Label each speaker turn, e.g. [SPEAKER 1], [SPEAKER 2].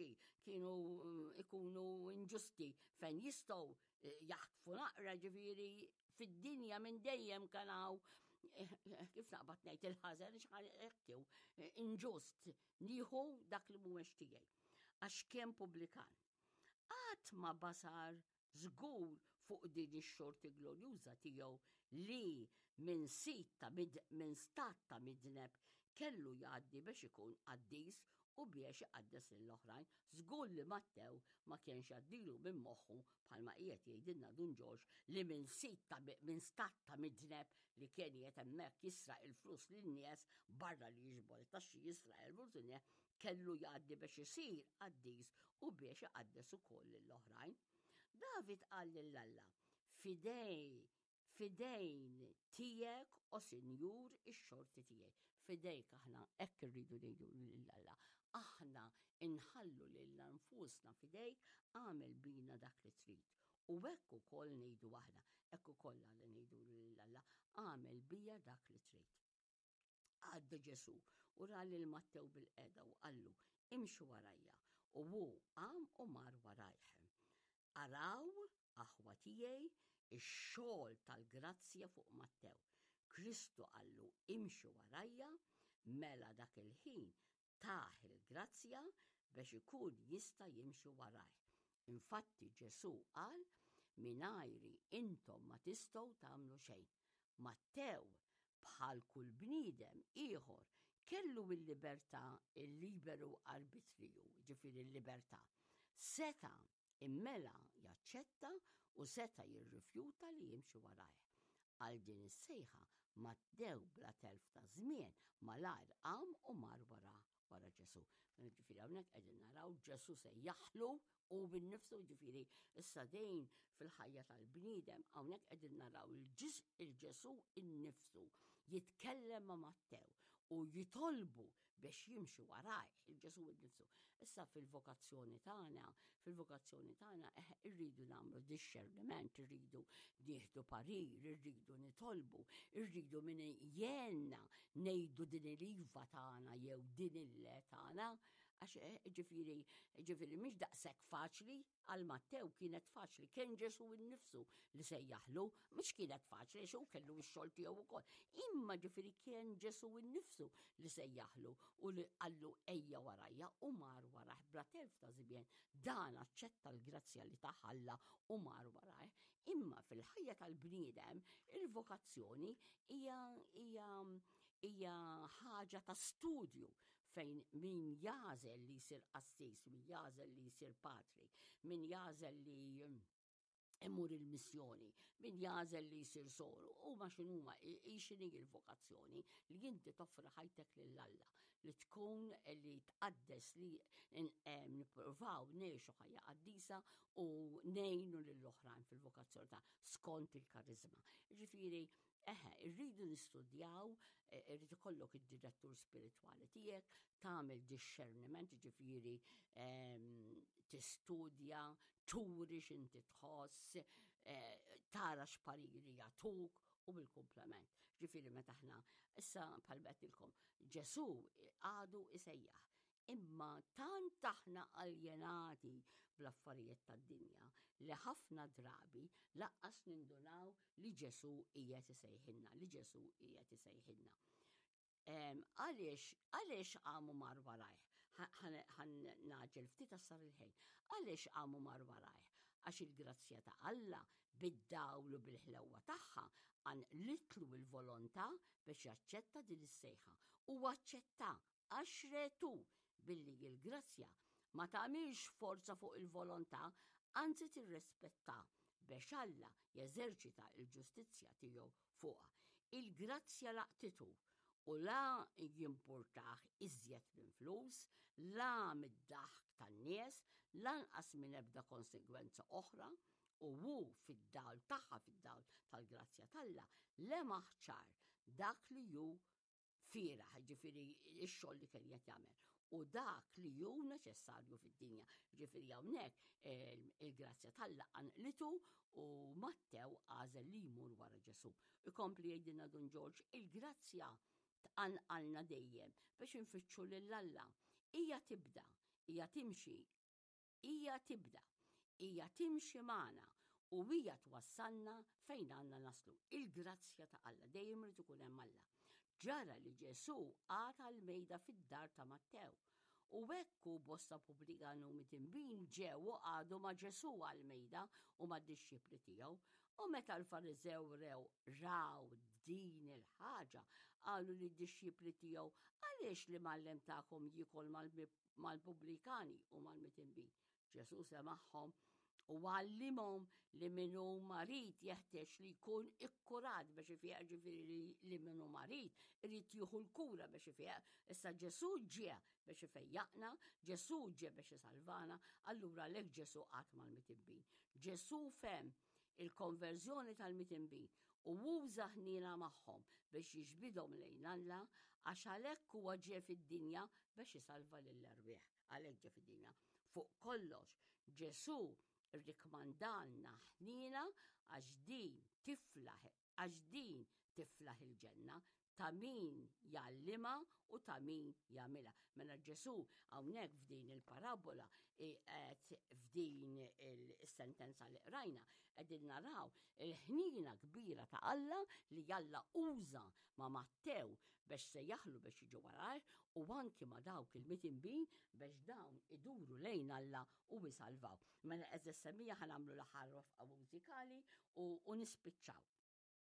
[SPEAKER 1] tat-taxxi kienu mm, ikunu inġusti fejn jistgħu eh, jaħtfu naqra ġifieri fid-dinja minn dejjem kien hawn eh, kif naqbad ngħid il-ħażen x'ħan inġust nieħu dak li mhuwiex tiegħi. Għax kien pubblikan. Qatt ma basar żgur fuq din ix-xorti glorjuża tiegħu li minn sit ta' minn stat ta' midneb kellu jgħaddi biex ikun qaddis u biex iqaddes lill-oħrajn. Żgur li Mattew ma kienx jgħaddilu minn moħħu bħalma qiegħed jgħidilna Dun Ġorġ li minn sit ta' minn stat ta' midneb li kien qiegħed hemmhekk jisraq il-flus lin-nies barra li jiġbor it-taxxi jisraq il-flus lin-nies kellu jgħaddi biex isir qaddis u biex iqaddes ukoll lill-oħrajn. David qal lil Alla, fidej fidejn tiegħek o Sinjur ix-xorti tiegħi. Fidejk aħna hekk irridu ngħidu lil Alla. Aħna inħallu lilna nfusna fidejk għamel bina dak li trid. U hekk ukoll ngħidu aħna, hekk ukoll għal ngħidu lil Alla, għamel bija dak li trid. Għadda Ġesù u ra lil Mattew bil-qeda u qallu, imxi warajja. U hu qam u mar warajh. Araw, aħwa tiegħi, ix-xogħol tal-grazzja fuq Mattew. Kristu qallu, imxi warajja, mela dak il-ħin tah il-grazzja biex ikun jista' jimxi warajh. Infatti Ġesù qal, mingħajri intom ma tistgħu tagħmlu xejn. Mattew, bħal kull bniedem ieħor, kellu l-libertà, il-liberu arbitriju, ġifieri l-libertà. Seta' immela jaċċetta u seta' jirrifjuta li jimxi warajh. Għal din is-sejħa Mattew bla telf ta' żmien malajr qam u mar wara wara Ġesù. Mela ġifieri hawnhekk qegħdin naraw Ġesù sejjaħlu u bin-nifsu ġifieri issa dejn fil-ħajja tal-bniedem hawnhekk qegħdin naraw il-Ġesù innifsu jitkellem ma' Mattew u jitolbu biex jimxi warajh il-Ġesù innifsu. Issa fil-vokazzjoni tagħna, fil-vokazzjoni tagħna eh, irridu nagħmlu discerniment, irridu nieħdu parir, irridu nitolbu, irridu min jgħinna ngħidu din il-iva tagħna jew din il-le tagħna, għax eh, ġifieri ġifieri mhix daqshekk faċli Għal Mattew kienet faċli, kien Ġesù innifsu li sejjaħlu, mhux kienet faċli għax hu kellu x-xogħol tiegħu wkoll. Imma ġifieri kien Ġesù innifsu li sejjaħlu u li qallu ejja warajja u mar warajh bla telf ta' żmien. Dan aċċetta l-grazzja li tah Alla u mar warajh. Imma fil-ħajja tal-bniedem il-vokazzjoni hija hija hija ħaġa ta' studju fejn min jagħżel li jsir qassis, min jagħżel li jsir patri, min jagħżel li imur il-missjoni, min jagħżel li jsir soru, huma x'inhuma x'inhi l-vokazzjoni li inti toffri ħajtek lil Alla, li tkun li tqaddes li nippruvaw ngħixu ħajja qaddisa u ngħinu lill-oħrajn fil-vokazzjoni ta' skont il-karizma. Ġifieri Eħe, irridu nistudjaw, eh, irrid ikollok id-direttur spiritwali tiegħek, tagħmel discerniment, ġifieri ehm, tistudja, turi x'inti tħoss, eh, tara x'pariri jagħtuk u bil-komplement. Ġifieri meta aħna issa bħal betilkom Ġesu għadu isejjaħ. Imma tant aħna aljenati bl-affarijiet tad-dinja li ħafna drabi laqqas nindunaw li Ġesù qiegħed isejħilna, li Ġesù qiegħed isejħilna. Għaliex, għaliex għamu mar warajh? Ħan naġel ftit sar il-ħin. Għaliex għamu mar warajh? Għax il-grazzja ta' Alla bid-dawl u bil-ħlewwa tagħha għan litlu il-volontà biex jaċċetta din is-sejħa. U aċċetta Għax retu billi l-grazzja ma tagħmilx forza fuq il-volontà, anzi tirrispetta biex Alla jeżerċita l-ġustizzja tiegħu fuqha. Il-grazzja laqtitu u la jimpurtah iżjed minn flus, la mid-daħk tan-nies, lanqas minn ebda konsegwenza oħra, u hu fid-dawl tagħha fid-dawl tal-grazzja t'Alla lemaħ ċar dak li hu fieraħ, ġifiri x-xogħol li kien qed jagħmel. U dak li hu neċessarju fid-dinja. Ġifiri hawnhekk eh, il-grazzja t'Alla qanqlitu u Mattew għażel li jmur wara Ġesu. Ikompli jgħidilna Dun Ġorġ, il-grazzja tqanqalna dejjem biex infittxu lil Alla. Hija tibda, hija timxi. Hija tibda, hija timxi magħna u hija twassalna fejn għandna naslu. Il-grazzja ta' Alla dejjem irid ikun hemm Alla. Ġara li Ġesù qagħad għall-mejda fid-dar ta' Mattew. U hekk hu bosta pubblikani u midinbin ġew u qagħdu ma' Ġesù għall-mejda u mad-dixxipli tiegħu. U meta l-Fariżew rew raw din il-ħaġa, qalu lid-dixxipli tiegħu, Għaliex l-imgħallem tagħkom jiekol mal-pubblikani u mal-midinbin? Ġesù semagħhom u għallimhom li min hu marid jeħtieġ li jkun ikkurat biex ifieq, ġifieri li min hu marid irid jieħu l-kura biex ifieq. Issa Ġesù ġie biex ifejjaqna, Ġesù ġie biex isalvana, allura għalhekk Ġesù qagħad mal-mitibbin. Ġesù fehem il-konverżjoni tal-mitinbin u uża ħniena magħhom biex jiġbidhom lejn Alla għax għalhekk huwa ġie fid-dinja biex isalva lill-erwieħ. Għalhekk ġie fid-dinja. Fuq kollox, Ġesù rrikmandalna ħniena għax din tiflaħ għax din tiflaħ il-ġenna, ta' min jgħallimha u ta' min jagħmilha. Mela Ġesù hawnhekk f'din il-parabola qed f'din is-sentenza li qrajna qegħdin naraw il-ħnina kbira ta' Alla li Alla uża ma' Mattew biex sejjaħlu biex jiġi warajh u anki ma' dawk il-mitinbin biex dawn iduru lejn Alla u jsalvaw. Mela għeżież semmiegħa ħa nagħmlu l-aħħar waqfa mużikali u, u nispiċċaw.